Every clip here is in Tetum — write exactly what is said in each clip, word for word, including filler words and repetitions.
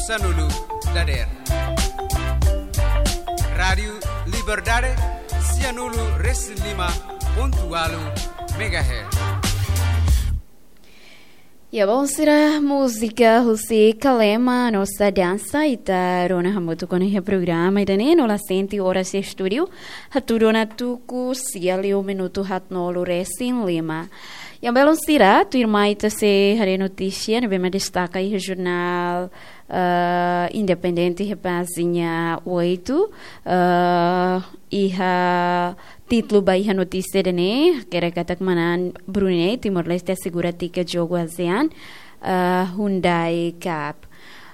Sanulu dader. Rádiu Liberdade, sianulu resin lima pontu walu megahertz. Ya, bom, sira múzika husi Kalema, Nossa Dança, ita rona hamutuk ona iha programa ida-ne'e, no la sente oras iha estúdiu, hatudu ona tuku sia liu minutu haatnulu resin lima. Ya, belun sira, tuirmai ita sei haree notísia ne'ebé mak destaka iha jornál, eh, Independente iha pájina oito, eh, iha títulu ba iha notísia ida-ne'e, hakerek katak manán Brunei, Timor-Leste asegura tiket jogu ASEAN, eh, Hyundai Cup.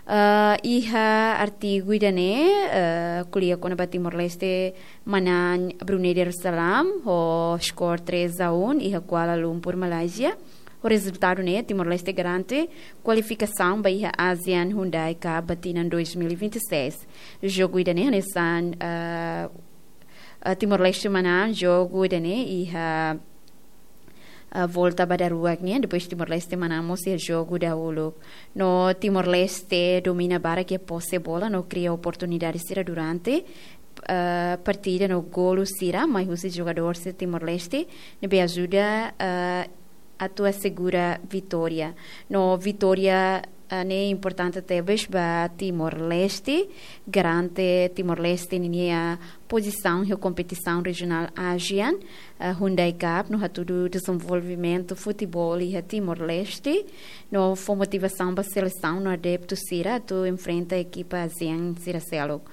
Eh, iha artigu ida-ne'e, eh, ko'alia kona-ba Timor-Leste manán Brunei Darussalam ho skor três a um iha Kuala Lumpur, Malázia. Ho rezultadu ne'e, Timor-Leste garante kualifikasaun ba iha ASEAN Hyundai Cup ba tinan dois mil e vinte e seis. Jogu ida-ne'e hanesan, eh, eh, Timor-Leste manán jogu ida-ne'e iha, eh, volta ba daruak nian, depois Timor-Leste manán mós iha jogu dahuluk. No Timor-Leste domina barak iha pose bola no kria oportunidade sira durante, eh, partida no golu sira mai husi jogadór sira Timor-Leste ne'ebé ajuda, eh, atu asegura vitória. No vitória, eh, ne'e importante tebes ba Timor-Leste, garante Timor-Leste ninia pozisaun iha kompetisaun rejionál ASEAN, eh, Hyundai Cup, no hatudu dezenvolvimentu futeból iha Timor-Leste, no fó motivasaun ba selesaun no adeptu sira atu enfrenta ekipa ASEAN sira seluk.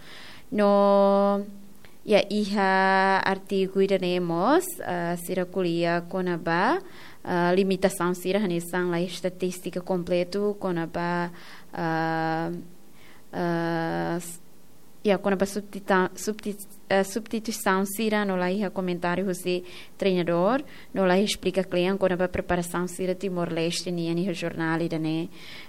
No, ya, iha artigu ida-ne'e mós, ah, sira ko'alia kona-ba, ah, limitasaun sira hanesan laiha estatístika kompletu kona-ba, ah, ah, s-, ya, kona-ba subtita-, subti-, ah, substituisaun sira no laiha komentáriu husi treinadór, no laiha esplika klean kona-ba preparasaun sira Timor-Leste nian iha jornál ida-ne'e.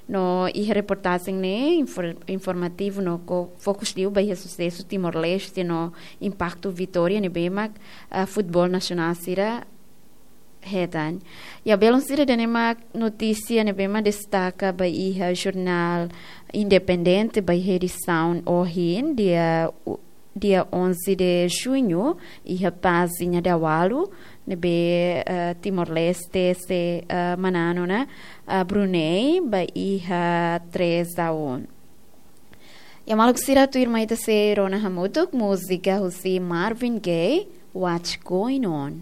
No iha reportajen ne'e infor-, informativu no ko fokus liu ba iha susesu Timor-Leste no impaktu vitória ne'ebé mak, ah, futeból nasionál sira hetan. Ya, belun sira, ida-ne'e mak notísia ne'ebé mak destaka ba iha jornál Independente ba iha edisaun ohin, dia u-, dia onze de junho, iha pájina dawalu, ne'ebé, eh, Timor-Leste sei, eh, manán ona, eh, Brunei ba iha três a um. Ya, maluk sira, tuirmai ita sei rona hamutuk múzika husi Marvin Gaye, What's Going On.